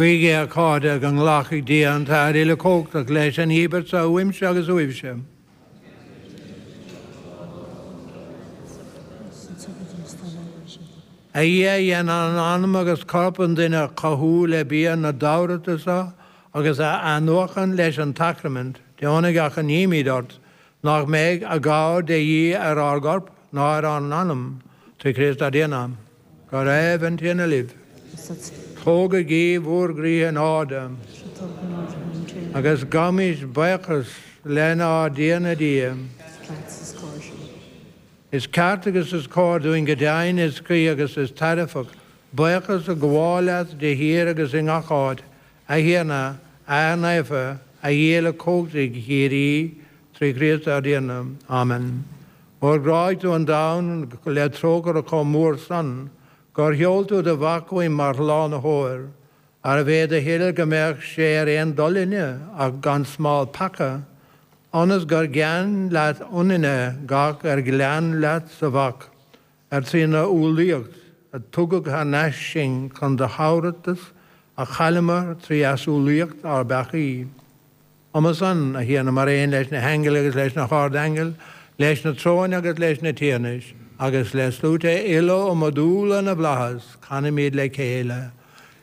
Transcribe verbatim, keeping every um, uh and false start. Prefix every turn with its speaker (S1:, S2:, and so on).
S1: Guígí, a chairde, go nglacfaidh Dia an tAthair uilechumhachtach leis an íobairt seo uaimse agus uaibhse. A Dhia a dhéanann anam agus corp an duine a chothú le bia na dtabharthas seo agus a athnuachan leis an tsacraimint, deonaigh a achainímid ort, nach mbeidh a gcabhair de dhíth ar ár gcorp ná ar ár n-anam, trí Chríost ár dTiarna. Go raibh an Tiarna libh. Tógaigí bhur gcroíthe in airde. Agus gabhaimis buíochas lenár dTiarna Dia. Is ceart agus is cóir dúinn go deimhin is cuí agus is tairbheach, buíochas a ghabháil leat de shíor agus i ngach áit, a Thiarna, a Athair Naofa, a Dhia uilechumhachtaigh shíoraí, trí Chríost ár dTiarna. Amen. Óir ghráigh tú an domhan le trócaire chomh mór san, gur sheol tú do Mhac chugainn mar Shlánaitheoir, arbh é do thoil go mbeadh sé ar aon dul linne ach gan smál peaca, ionas gur gean leat ionainne gach ar ghleann leat sa Mhac, ar trína umhlaíocht a tugadh thar n-ais sinn chun do thabharthas a chailleamar trí easumhlaíocht ár bpeacaí. Uime san, a Thiarna, mar aon leis na haingil agus leis na hardaingil, leis na tróin agus leis na tiarnais, agus le sluaite uile iomadúla na bhflaitheas, canaimid le chéile,